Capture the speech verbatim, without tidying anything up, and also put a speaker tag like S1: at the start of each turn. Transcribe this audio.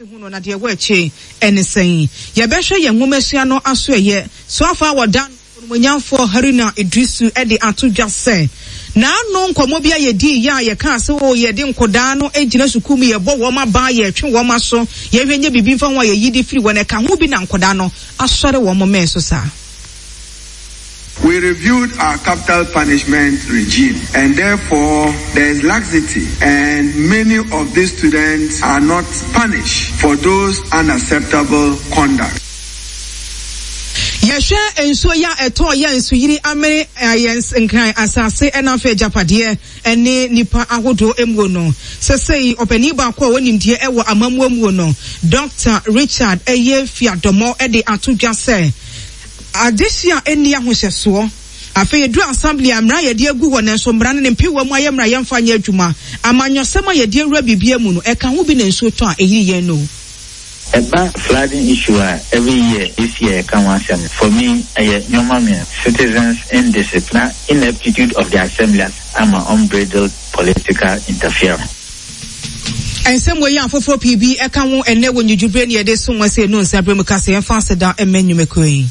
S1: Esi hu no na deɛ ɛwɔ akyire ɛne sɛn? Yɛbɛhwɛ yɛn nwomasua no aso ɛyɛ so afa a wɔda Onimuonyamfoɔ Haruna Iddrisu de ato dwa sɛ, N'ano nkɔmmɔ bi a yɛdii yɛ a yɛkaa sɛ oo yɛde nkɔdaa no gyina sukuu mu, yɛbɔ wɔn abaa, yɛtwe wɔn aso, yɛhwɛ nyɛ biribi mfa ho a yɛyi de firi wɔn, ɛka ho bi na nkɔdaa no asɔre wɔn mmɛn so saa.
S2: We reviewed our capital punishment regime, and therefore there is laxity, and many of these students are not punished for those unacceptable conduct.
S1: Yɛhwɛ nsuo yi a ɛtɔɔ yɛ nsuyiri amene yɛn Nkran asase ɛna afei agyapadeɛ ne nnipa ahodoɔ muo no. Sɛsɛyi ɔpanin baako a ɔwɔ nimdeɛ wɔ amammuo muo no, Dɔkta Richard Ɛyɛ Fiadɔmɔ de ato dwa sɛ adehye a ɛnni ahohyɛsoɔ. Afei ɛduru assembly a mmara a yɛde agu hɔ nanso mmara no ne mpewa mu ayɛ mmara yɛmfa nyɛ adwuma. Amanyɔsɛm a yɛde awura biribiara mu no, ɛka ho bi na nsuo tɔ a ɛyiri yɛn no.
S3: Ɛba flooding issue a every year esi a yɛka ho asɛm no, for me ɛyɛ nneɛma mmienu, citizens indiscipline na ineptitude of the assembly ama unbridled political interference.
S1: Nsɛm wei a afoforɔ pii bi ka ho ɛnnɛ wɔ nnwudwuberɛ ne yɛde som wɔn sɛ ɛnu nsa berɛ mu ka sɛ yɛmfa aseda mma nnwumakuo yi.